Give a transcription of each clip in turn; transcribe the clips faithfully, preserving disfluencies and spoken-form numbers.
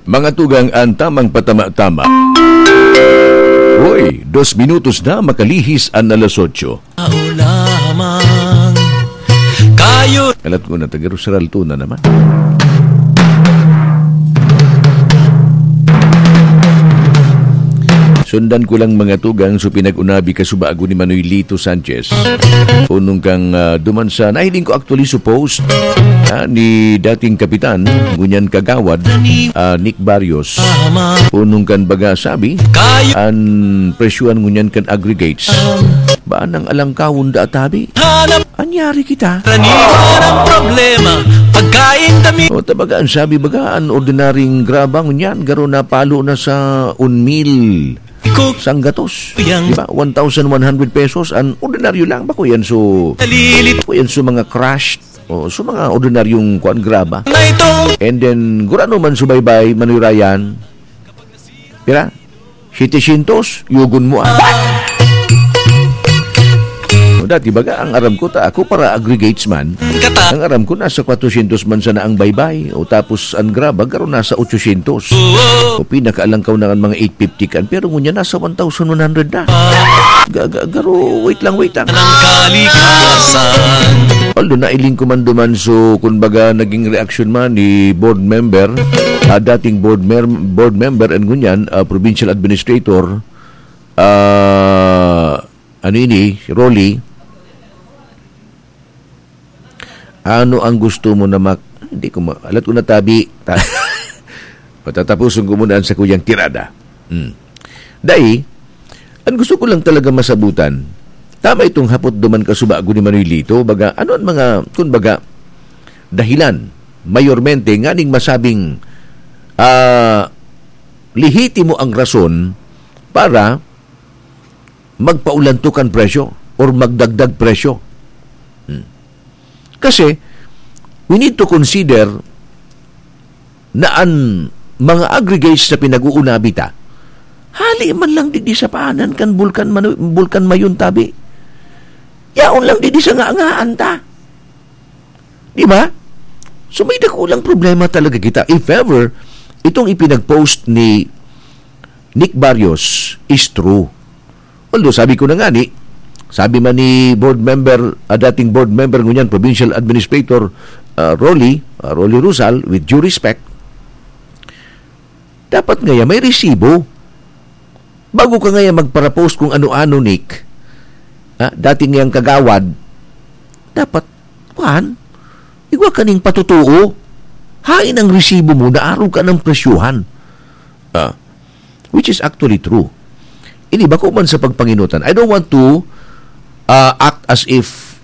Mga tugang, an tamang patama-tama. Hoy, dos minutos na makalihis an alas otso. Tao lamang kayo. Alat ko na, taga Rosaralto na naman. Sundan ko lang, mga tugang, so pinag-unabi kasubago ni Manoy Lito Sanchez. Punong kang, ah, duman sa, nahiling ko actually sa post, ah, ni dating kapitan, ngunyan kagawad, ah, Nick Barrios. Punong kan baga sabi, an presyuhan ngunyan kan aggregates. Ba nang alangkawon da atabi? Anyari kita? Raniwan ang problema, pagkain kami. O, tabaga, an sabi baga, an ordinaryong graba ngunyan, garo napalo na sa un mil sanggatos. Di ba? One thousand one hundred pesos, an ordinaryo lang. Bako yan, so, Nalilit bako yan, so mga crushed. O, so mga ordinaryong kuan, graba. Na ito. And then, gurano man subaybay, Manoy Ryan. Pira? Setecientos, yugon mo, ah. O, dati baga, ang aram ko, ta, ako para aggregates man. Kata. Ang aram ko, nasa kwatrosyentos man sana ang baybay. O, tapos, ang graba, garo nasa otsosyentos. Oo. O, pinakaalangkaw na ang mga eight fifty kan. Pero ngunyan, nasa one thousand one hundred na. Ga-, ga-, garo, wait lang, wait lang. Ng kalikasan. Although, nailing ko man duman, so, kumbaga, naging reaksyon man ni board member, ah, dating board mer-, board member, and ngunyan, ah, provincial administrator, ah, ano ini, si Rolly, ano ang gusto mo na mak-, hindi ko ma-, alat ko na tabi. Ta-, patatapusin ko muna ang sakuyang tirada. Hmm. Dai, ang gusto ko lang talaga masabutan, tama itong hapot duman kasubago ni Manoy Lito, baga, ano ang mga, kung baga, dahilan, mayormente, nganing masabing, ah, lehitimo ang rason para magpaulantok an presyo or magdagdag presyo. Hmm. Kasi, we need to consider na an mga aggregates na pinag-uunabi ta, hali man lang digdi sa paanan kan Bulkan Manu-, Bulkan Mayon tabi. Yaon lang digdi sa ngangaan ta. Di ba? So, may dakulang problema talaga kita. If ever, itong ipinag-post ni Nick Barrios is true. Although, sabi ko na nga ni, sabi man ni board member, ah, dating board member ngunyan, provincial administrator, ah, Rolly, ah, Rolly Rusal, with due respect, dapat ngaya may resibo. Bago ka ngaya magparapost kung ano-ano, Nick, ah, dating ngayang kagawad, dapat, kuwan, igwa ka ning patotoo. Hain ang resibo mo na arog ka ng presyohan. Ah, which is actually true. Ini bako man sa pagpanginutan. I don't want to, ah, act as if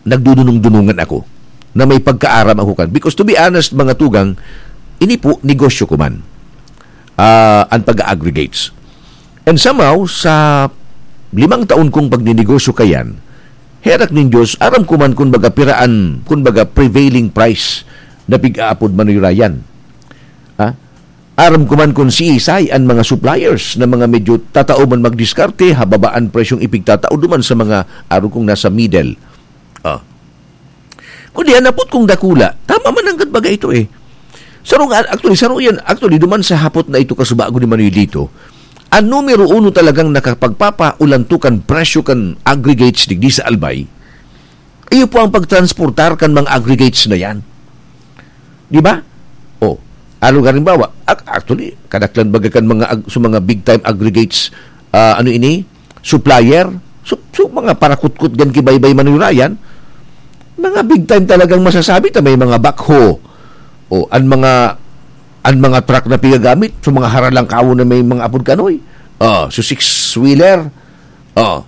nagdudunong-dunungan ako, na may pagkaaram ako kan. Because to be honest, mga tugang, ini po, negosyo ko man, ah, ang pag-aggregates. And somehow, sa limang taon kong pagninegosyo kayan, herak nin Diyos, aram ko man kun baga piraan, kun baga prevailing price na pig-aapod manuyrayan. Ha? Aram ko man kun siisay an mga suppliers na mga medyo tatao man magdiskarte, ha babaan presyong ipigtatao duman sa mga arog kong nasa middle. Ah. Kundi an hapot kong dakula, tama man nanggad baga ito eh. Saro nga, actually, saro yan. Actually, duman sa hapot na ito, kasubago ni Manoy Lito, ang numero uno talagang nakapagpapaulantukan presyo kan aggregates digdi sa Albay, iyo po ang pagtransportar kan mga aggregates na yan. Di ba? O, ano, halimbawa, ac-, actually, kadaklan baga kan mga ag-, sa mga big time aggregates, ah, ano ini? Supplier. So, so, mga parakutkot gan ki Baybay Manuyrayan, mga big time talagang masasabi ta, may mga backhoe. O, an mga, an mga truck na pigagamit, so mga haralangkawon na may mga apod kanoy. Ah, so six-wheeler. Ah,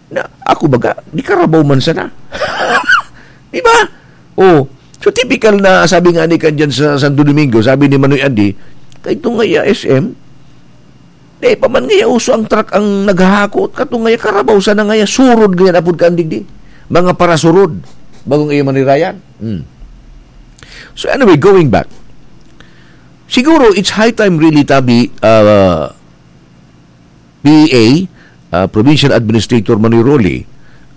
na, ako baga, di karabaw man sana. Di ba? Oh, so typical na sabi nga ni kan dyan sa Santo Domingo, sabi ni Manoy Andy, "Kay itong ngaya S M, di pa man ngaya uso ang truck ang naghahakot, katong ngaya karabaw sana ngaya, surod ngaya apod ka andig di. Mga parasurod, bagong iyo manirayan." Hmm. So anyway, going back, siguro it's high time really, tabi, ah, P A, ah, Provincial Administrator Manoy Rolly,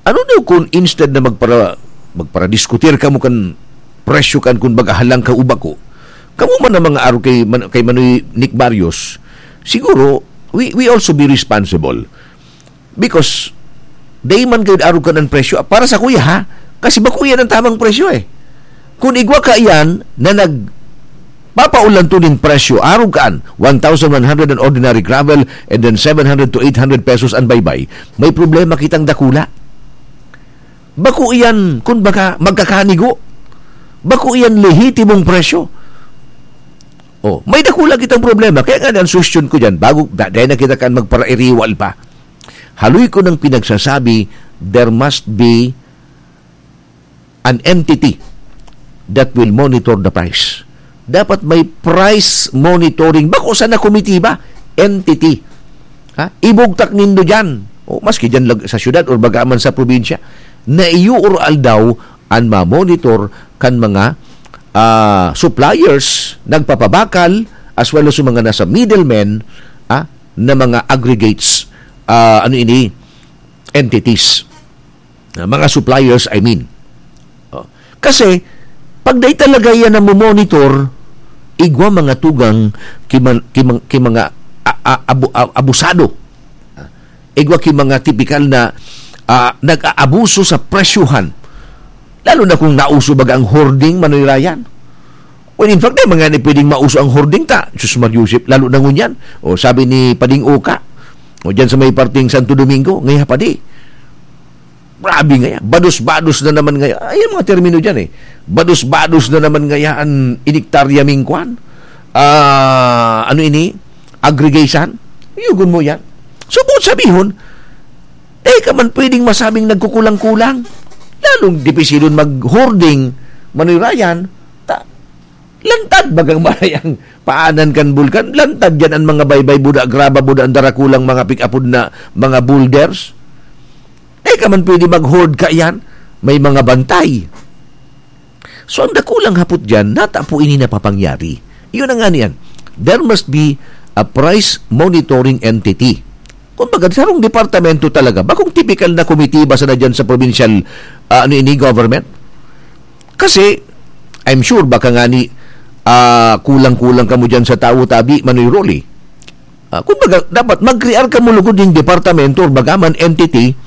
ano daw kun instead na magpara-, magparadiskutir kamo kan presyo kan kun baga halang ka o bako, Kamo man ang mga arog kay Man-, kay Manoy Nick Barrios, siguro, we, we also be responsible. Because, dai man kayo arog kan presyo. Para sa kuya, ha? Kasi bako yan ang tamang presyo, eh. Kung igwa ka yan na nagpapaulan to nin presyo, arog kan one thousand one hundred an ordinary gravel and then seven hundred to eight hundred pesos an baybay, may problema kitang dakula. Bako iyan, kun baga, magkakanigo. Bako iyan lehitimong presyo. Oh, may dakula kitang problema. Kaya nga, ang suhestyon ko dyan, bago, da-, dahil na kita kan magparairiwal pa. Haloy ko nang pinagsasabi, there must be an entity that will monitor the price. Dapat may price monitoring. Bako sana komitiba, entity. Ha? Ibugtak nindo dyan. O, maski dyan lag-, sa syudad or baga man sa probinsya, na iyo or aldaw an mamonitor kan mga, ah, suppliers, nagpapabakal, as well as yung mga nasa middlemen, ah, na mga aggregates, ah, ano ini, entities. Ah, mga suppliers, I mean. Oh. Kasi, pag dai talaga yan na monitor, igwa mga tugang ki man-, ki man-, ki mga a-, a-, abu-, a-, abusado. Ah, igwa ki mga tipikal na, ah, nag-aabuso sa presyuhan. Lalo na kung nauso baga ang hoarding, Manoy Ryan. Well, in fact, eh, mga ni pwedeng mauso ang hoarding ta. Diyos Mario Joseph, lalo na ngunyan. O, sabi ni Pading Uka, o, dyan sa may parting Santo Domingo, ngaya pa di. Grabe nga yan. Bados-bados na naman ngayon. Ay, yung mga termino dyan eh. Bados-bados na naman ngayon an iniktarya ming kwan. Ah, ano ini? Aggregation? Yugon mo yan. So, kung sabihon, eh, ka man pwedeng masabing nagkukulang-kulang. Lalong dipisilon mag-hoarding, Manoy Ryan, ta, lantad bagang maray ang paanan kan bulkan. Lantad yan ang mga baybay, buda, graba, buda, ang darakulang mga pikapod na mga boulders. Eh, ka man pwede mag-hoard ka yan. May mga bantay. So, ang dakulang hapot dyan, nata po ini napapangyari. Yun ang nga niyan. There must be a price monitoring entity. Kumbaga, sarong departamento talaga. Bakong typical na komitiba sana dyan sa provincial, ah, ano ini, government? Kasi, I'm sure, baka nga ni, ah, kulang-kulang kamo dyan sa tawo tabi, Manoy Rolly. Ah, kumbaga, dapat mag-create kamo lugod ning departamento or bagaman entity,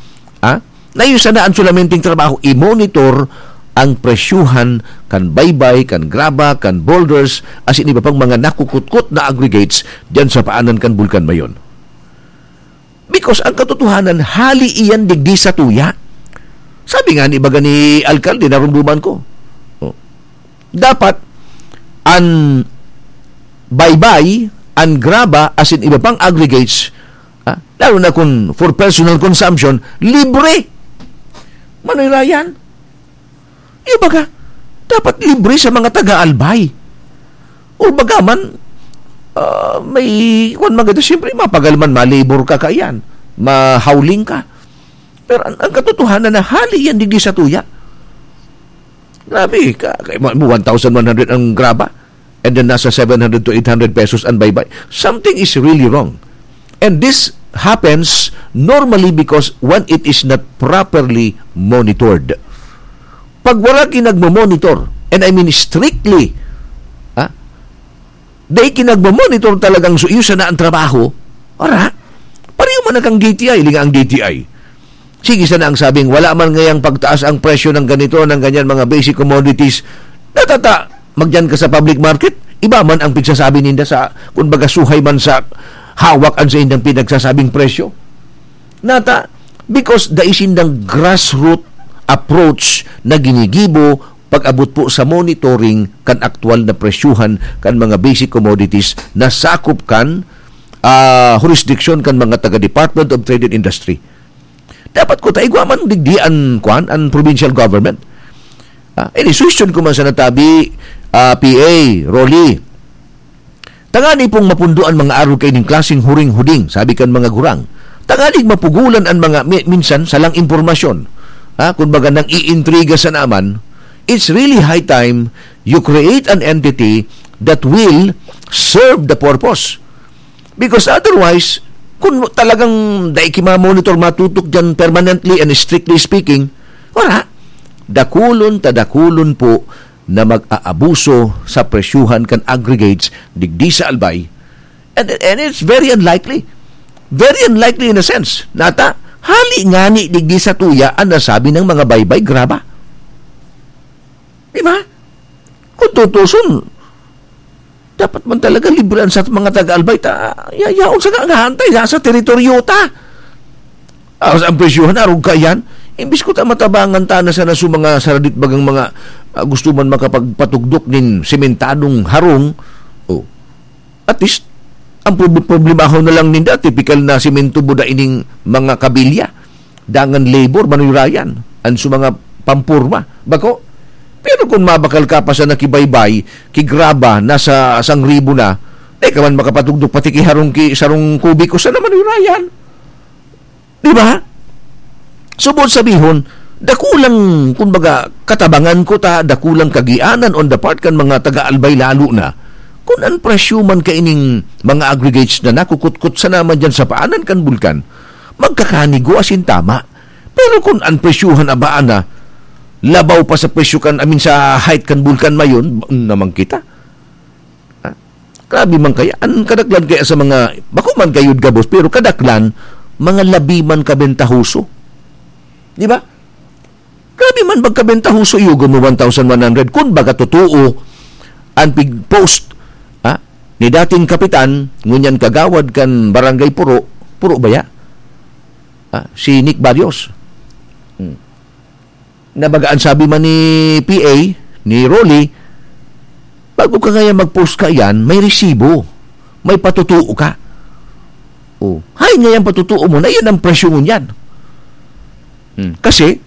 ah, na yun sana ang sulamenteng trabaho, i-monitor ang presyuhan kan baybay, kan graba, kan boulders, asin iba pang mga nakukutkot na aggregates diyan sa paanan kan Bulkan Mayon. Because ang katotohanan, hali iyan digdi sa tuya. Sabi nga ni baga ni alkalde, narumduman ko. Oh. Dapat an baybay, an graba, asin iba pang aggregates, ah, lalo na kung for personal consumption, libre. Manoy Ryan, yung baga, dapat libre sa mga taga-albay. O baga man, ah, may, kwan man gito, siyempre, mapagal man, malibor ka kaiyan, mahawling ka. Pero ang, ang katotohanan na hali yan digdi sa tuya. Grabe, ka, ka, mo, one thousand one hundred ang graba, and then nasa seven hundred to eight hundred pesos ang baybay. Something is really wrong. And this happens normally because when it is not properly monitored. Pag wala ki nagmo-monitor, and I mean strictly, ha? Dai ki nagmo-monitor talagang so, iyo sana ang trabaho, ora, pareho man ang D T I, linga ang D T I. Sige sana ang sabing, wala man ngayang pagtaas ang presyo ng ganito, ng ganyan, mga basic commodities. Natata, magyan ka sa public market, iba man ang pigsasabi ninda sa, kung baga suhay man sa hawak ang sa indang pinagsasabing presyo. Nata, because dai sindang grassroot approach na ginigibo pag-abot po sa monitoring kan aktual na presyuhan kan mga basic commodities na sakop kan, ah, jurisdiction kan mga taga Department of Trade and Industry. Dapat ko ta igwa man digdi an, kwan, an provincial government. Ah, ini suhestyon ko man sa natabi, ah, P A, Rolly. Tangani pong mapundo an mga arog kaining klaseng huring-huding, sabi kan mga gurang. Tanganing mapugulan an mga mi-, minsan salang impormasyon. Ha? Kumbaga, nang iintriga sa naman, it's really high time you create an entity that will serve the purpose. Because otherwise, kung talagang dai ki ma-monitor, matutok dyan permanently and strictly speaking, wala. Dakulon ta dakulon po na mag-aabuso sa presyuhan kan aggregates digdi sa Albay. And, and it's very unlikely. Very unlikely in a sense. Nata, hali ngani digdi sa tuya ang nasabi ng mga baybay graba. Di ba? Kung tutuson, dapat man talaga libre ang sa mga taga-Albay ta, ya-, yaon sa nga hantay, sa, sa teritoryo ta. Ah, sa ang presyohan, arog ka yan. Imbis ko ta matabangan ta na sana sa mga saradit bagang mga, ah, gusto man makapagpatugdok nin sementadong harong. Oh. At least, ang prob-, problemahon na lang ninda, tipikal na semento buda ining mga kabilya. Dangan labor, manuyrayan. An su mga pampurma. Bako? Pero kung mabakal ka pa sa nakibaybay, kigraba, nasa sangribo na, di ka man makapatugdok pati ki harong ki, sarong kubiko sana manuyrayan. Di ba? Subot sabihon, dakulang, kumbaga, katabangan ko ta, dakulang kagianan on the part kan mga taga-Albay lalo na. Kun an presyo man kaining mga aggregates na nakukutkot sana man dyan sa paanan kan bulkan, magkakanigo asin tama. Pero kun an presyohan abaan na, labaw pa sa presyo kan, I mean, sa height kan bulkan mayon, naman kita. Ha? Grabe man kaya. An kadaklan kaya sa mga, bako man kayod gabos, pero kadaklan, mga labi man kabentahoso. Di ba? Grabe man magkabentahoso, iyo, gamo one thousand one hundred. Kun baga totoo, an pig-post, ha? Ni dating kapitan, ngunyan kagawad kan Barangay Puro, Puro baya? Ha? Si Nick Barrios. Hmm. Na baga an sabi man ni P A, ni Rolly, bago ka ngayon mag-post ka yan, may resibo, may patutuo ka. Oh, hay ngayon patutuo mo na yan ang presyo mo niyan. Hmm. Kasi,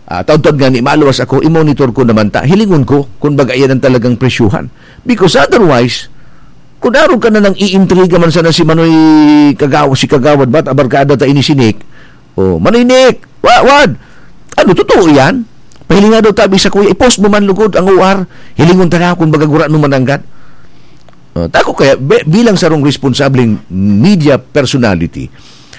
ah, taon-taon nga ni maluwas ako, i-monitor ko naman ta, hilingon ko kung baga yan ang talagang presyuhan. Because otherwise, kung arog ka na nang iintriga man sana si Manoy Kagaw-, si Kagawad, ba't abarkada ta ini si Nick? Oh, Manoy Nick, Wa-, wad. Ano, totoo yan? Pahilinga daw tabi sa kuya, i-post mo man lugod ang O R. Hilingon ta na kung baga gurano mananggad. Uh, tako kaya, be-, bilang sarong responsableng media personality,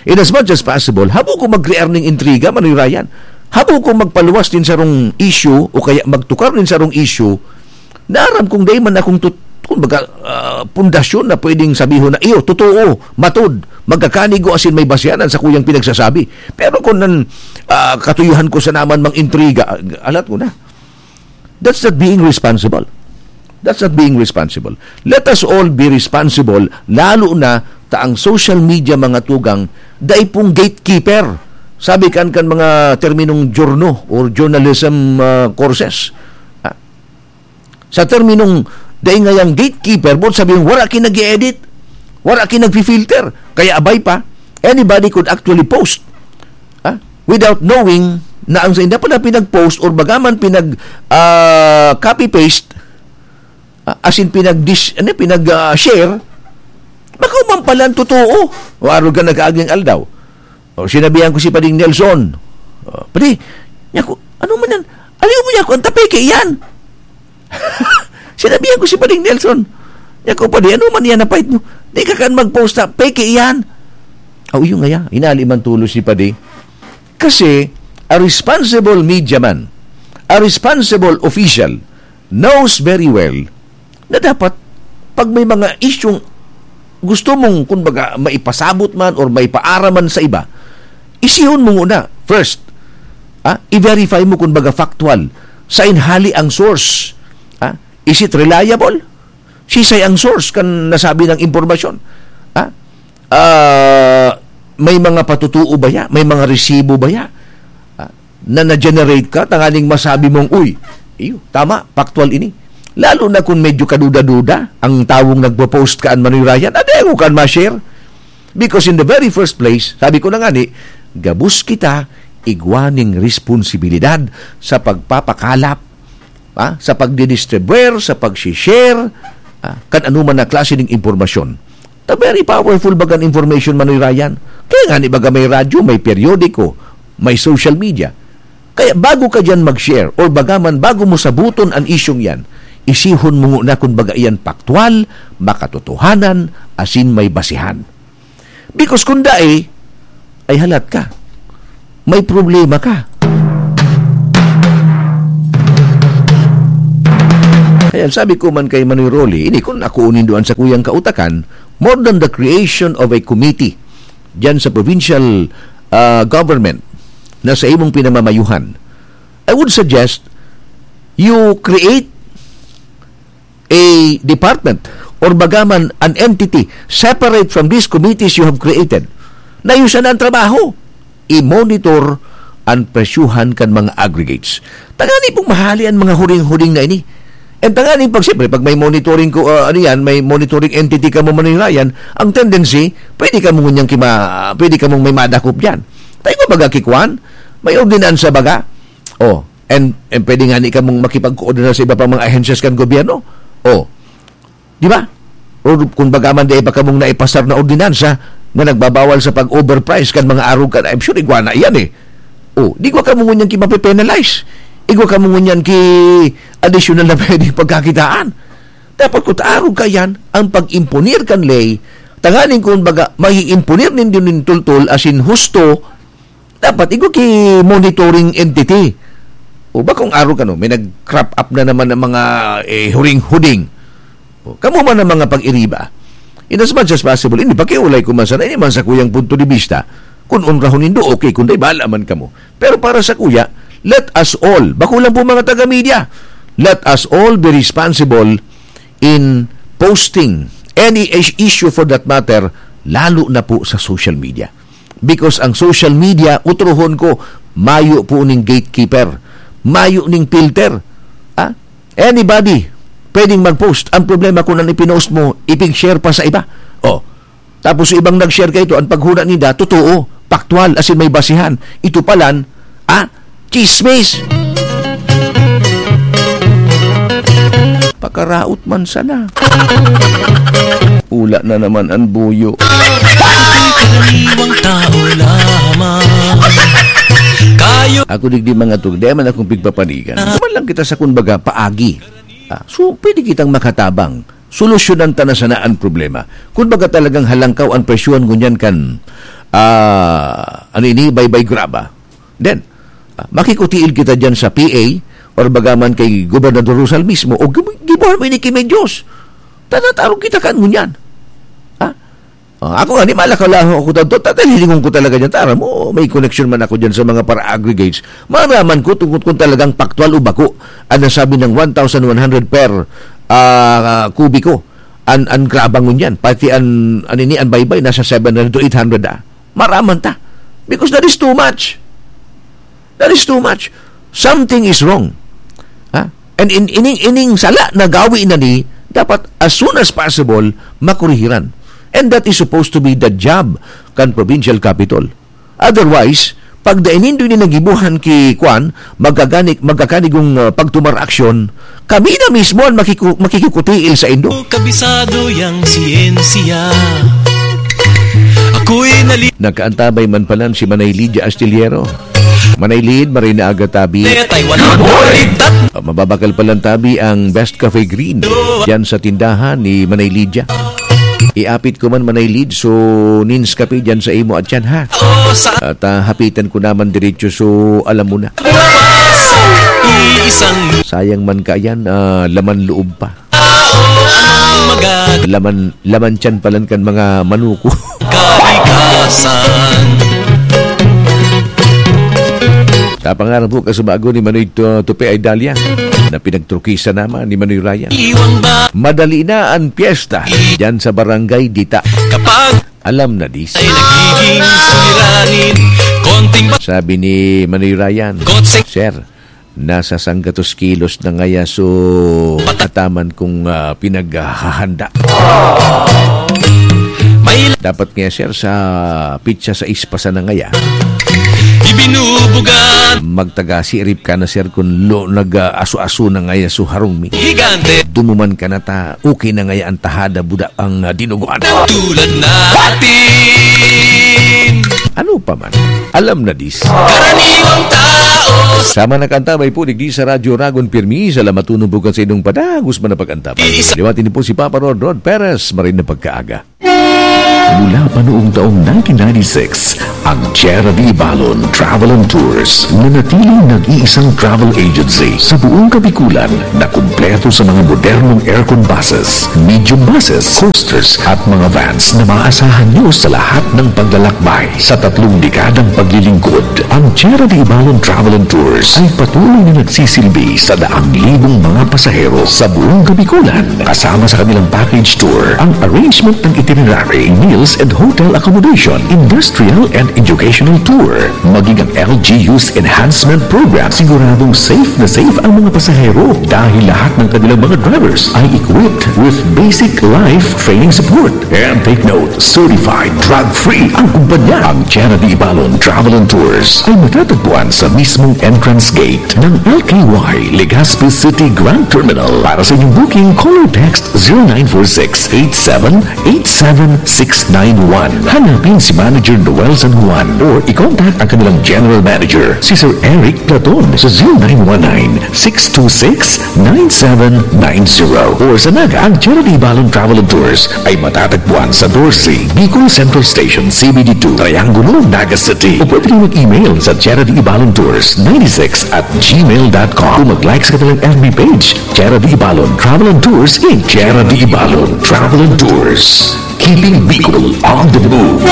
in as much as possible, habo ko mag-create ning intriga, Manoy Ryan. Habo ko magpaluwas din sarong issue o kaya magtukar din sarong issue na aram kong dai man akong tut-, kumbaga, ah, pundasyon na pwedeng sabihon na, "Iyo, totoo, matod, magkakanigo asin may basehan an sakuyang pinagsasabi." Pero kung nan, ah, katuyuhan ko sa naman mang intriga, ah, alat ko na. That's not being responsible. That's not being responsible. Let us all be responsible, lalo na ta ang social media, mga tugang, dai pong gatekeeper. Sabi kan, kan mga terminong journo or journalism, ah, courses. Ah, sa terminong dai ngayang gatekeeper, boot sabihin, wala ki nag-e-edit, wala ki nagfi-filter. Kaya abay pa, anybody could actually post, ah, without knowing na ang sainda pala pinag-post or bagaman pinag, ah, copy-paste, ah, as in pinag-dis-, ano, pinag, ah, share, baka man pala ang totoo. O, araw ka nag-aaging aldaw. O, sinabihan ko si Pading Nelson. O, "Padi, niya ko, ano man yan? Aliw mo niya ko, ang tapeke yan." Sinabihan ko si Pading Nelson. Niya ko, "Padi, ano man yan napait mo? Di ka kan mag-post na, peke yan." Aw, iyo ngaya, inali man tulos ni Padi. Kasi, a responsible media man, a responsible official, knows very well na dapat pag may mga isyung gusto mong, kumbaga, maipasabot man or maipaaram man sa iba, isihon mo muna first. Ah, i-verify mo, kumbaga, factual. Sain hali ang source? Ah, is it reliable? Sisay ang source kan nasabi ng impormasyon? Ah, ah, may mga patutuo ba ya? May mga resibo ba ya? Ah, na na-generate ka, tanganing masabi mong, "Uy, iyo, tama, factual ini." Lalo na kung medyo kaduda-duda ang tawong nagpo-post kaan, Manoy Ryan, "Ade, ako kan ma-share." Because in the very first place, sabi ko na nga ni, gabos kita igwa ning responsibilidad sa pagpapakalap, ah, sa pagdidistribuer, sa pag-share, ah, kan anuman na klase ning impormasyon. Ta very powerful bagan information, Manoy Ryan. Kaya nga ni baga may radyo, may periodiko, may social media. Kaya bago ka diyan mag-share or bagaman bago mo sabuton an isyung yan, isihon mo nguna kun baga iyan paktwal, makatotohanan, asin may basehan. Because kun dai, ay halat ka. May problema ka. Yan, sabi ko man kay Manoy Rolly, ini kun ako nindo an sakuyang kautakan, more than the creation of a committee diyan sa provincial, ah, government na sa imong pinamamayuhan, I would suggest you create a department or baga man an entity separate from these committees you have created. Na iyo sana ang trabaho, i-monitor an presyuhan kan mga aggregates. Tangani pong mahali an mga huring-huring na ini. And tangani pag, siyempre, pag may monitoring ko, ah, ano yan, may monitoring entity ka mo, Manoy Ryan, ang tendency, pwede ka mong ngunyan kima-, pwede ka mong may madakop dyan. Tayo ko baga kikwan, may ordinansa baga. Oh, and, and pwede nga ni ka mong makipagkoordinar sa iba pang mga ahensyas kan gobyerno. Oh, di ba? O kung baga man, di ba kamong naipasar na ordinansa na nagbabawal sa pag-overprice kan mga arog kan, I'm sure igwa na iyan eh. Oh, di ko kamo ngunyan ki mape-penalize. Igwa kamo ngunyan ki additional na pwedeng pagkakitaan. Dapat kung arog ka yan, ang pag-imponer kan ley, tanganing kung baga, maiimponer nindo nin tultol, asin husto, dapat igwa ki monitoring entity. O ba kung arog ka, no, may nag-crop up na naman ng mga, eh, huring-huding. O, kamo man ang mga pag-iriba. In as much as possible, hindi pakiulay ko man sana, ini man sa kuyang punto de vista. Kung onrahon nindo, okay. Kung di, bahala man kamo. Pero para sa kuya, let us all, bako lang po mga taga-media, let us all be responsible in posting any is-, issue for that matter, lalo na po sa social media. Because ang social media, utrohon ko, mayo po ning gatekeeper, mayo ning filter. Ah? Anybody pwedeng mag-post. Ang problema kung ano ipinost mo, ipig-share pa sa iba. Oh, tapos ibang nag-share kaito, ang paghuna nila, totoo, paktwal, asin may basihan. Ito palan, ah, chismis. Pakaraot man sana. Ula na naman ang buyo. Karaniwang tao lamang. Kayo. Ako digdi mga tug, di man akong pigpapanigan. Duman lang kita sa, kumbaga, paagi. Ah, so, pwede kitang makatabang. Solusyonan ta na sana ang problema. Kung baga talagang halangkaw ang presyohan ngunyan kan, ah, ano ini, baybay graba. Then, ah, makikutiil kita dyan sa P A or baga man kay Gobernador Rosal mismo o gib-, gibuhan mo ini ki Medyos. Tanatarog kita kan ngunyan. Ha? Ah, ako nga, ni malakaw lang ako tanto, tatalingon ko talaga dyan. Tara mo, may connection man ako dyan sa mga para-aggregates. Maraman ko tungkol kung talagang paktwal o bako. Ang nasabi ng one thousand one hundred per, ah, kubiko. An, an graba ngunyan. Pati an, an ini, an baybay, nasa seven hundred to eight hundred, ah. Maraman ta. Because that is too much. That is too much. Something is wrong. Ha? And in, ining, ining sala na gawi na ni, dapat as soon as possible, makurihiran. And that is supposed to be the job kan provincial capitol. Otherwise, pag dai nindo ini nagibuhan ki kwan, magkagani-, magkakanigong, ah, pagtumar aksyon, kami na mismo ang makiku-, makikikutiil sa indo. Kabisado yang siyensiya. Ako'y nali- Nakaantabay man palan si Manay Lydia Astillero. Manay Lid, maray na aga tabi. Taiwan ang buhay. Ah, mababakal palan tabi ang Best Cafe Green diyan sa tindahan ni Manay Lydia. Iapit ko man, Manay Lid, so nins kape diyan sa imo at yan, ha? At, ah, hapitan ko naman diretso, so alam mo na. Iisang Sayang man ka yan, ah, laman loob pa. Laman, laman tiyan palan kan mga manuko. Kalikasan. Sa pangarap po, kasubago ni Manoy Tu-, Tupi ay Dahlia, na pinagtrukisan naman ni Manoy Ryan. Madali na ang piyesta dyan sa Barangay Dita. Kapag Alam na dis. Ay nagiging suliranin, konting ba- Sabi ni Manoy Ryan, Kotse. Sir, nasa sanggatos kilos na ngaya, so ataman kung, ah, pinaghahanda. May Dapat nga, sir, sa pitsa sais pa sana ngaya. Ibinubugan. Magtaga-sirip ka na, sir, kun lo-, nag-, ah, aso-aso na ngaya, so harong mi. Higante. Dumuman ka na ta, okay na ngaya ang tahada, buda ang, ah, dinuguan. Tulad natin. Ano pa man, alam na dis. Karaniwang tao. Sama na kanta, may pulig di sa Radyo Ragon Pirmi. Salamat tunong bukan sa inyong padagos man na pag-antabay. Isa- Liwati niyo po si Papa Rod, Rod Perez, maray na pagkaaga. Mula pa noong taong nineteen ninety-six, ang Tierra de Ibalon Travel and Tours nanatiling nag-iisang travel agency sa buong Kabikulan na kumpleto sa mga modernong aircon buses, medium buses, coasters at mga vans na maaasahan nyo sa lahat ng paglalakbay. Sa tatlong dekadang paglilingkod, ang Tierra de Ibalon Travel and Tours ay patuloy na nagsisilbi sa daang libong mga pasahero sa buong Kabikulan. Kasama sa kanilang package tour, ang arrangement ng itinerary, meals and hotel accommodation, industrial and educational tour, maging ang L G U's enhancement program, siguradong safe na safe ang mga pasahero dahil lahat ng kanilang mga drivers ay equipped with basic life training support. And take note, certified drug-free ang kumpanya. Ang Tierra de Ibalon Travel and Tours ay matatagpuan sa mismong entrance gate ng L K Y Legazpi City Grand Terminal. Para sa inyong booking, call or text zero nine four six eight seven eight seven six nine one. Hanapin si Manager Noel San Juan or i-contact ang kanilang General Manager, si Sir Eric Platon, sa zero nine one nine six two six nine seven nine zero. Or sa Naga, ang Tierra de Ibalon Travel and Tours ay matatagpuan sa doce Bicol Central Station, C B D two, Triangulo, Naga City. O pwede rin mag-email sa Tierra de Ibalon Tours ninety-six at gmail dot com. O mag-like sa kanilang F B page, Tierra de Ibalon Travel and Tours, Inc. Tierra de Ibalon Travel and Tours. Keeping Bicol on the move.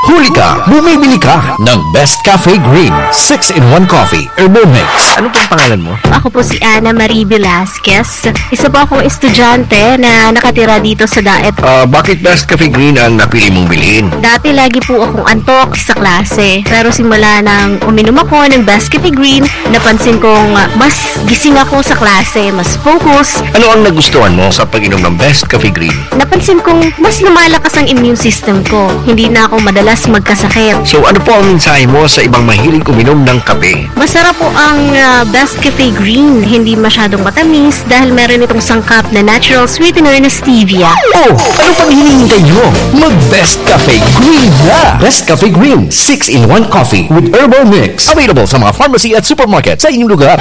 Huli ka, bumibili ka ng Best Cafe Green six-in-one Coffee Herbal Mix. Ano pong pangalan mo? Ako po si Ana Marie Velasquez. Isa po akong estudyante na nakatira dito sa Daet. Ah, bakit Best Cafe Green ang napili mong bilhin? Dati lagi po akong antok sa klase. Pero simula nang uminom ako ng Best Cafe Green, napansin kong ah, mas gising ako sa klase, mas focus. Ano ang nagustuhan mo sa pag-inom ng Best Cafe Green? Napansin kong mas lumalakas ang immune system ko. Hindi na ako madalas magkasakit. So ano po ang mensahe mo sa ibang mahilig uminom ng kape? Masarap po ang ah, Best Cafe Green. Hindi masyadong matamis dahil meron itong sangkap na natural sweetener na stevia. Oh, ano pang hinihintay nyo? Mag Best Cafe Green na! Best Cafe Green six-in-one Coffee with Herbal Mix. Available sa mga pharmacy at supermarket sa inyong lugar.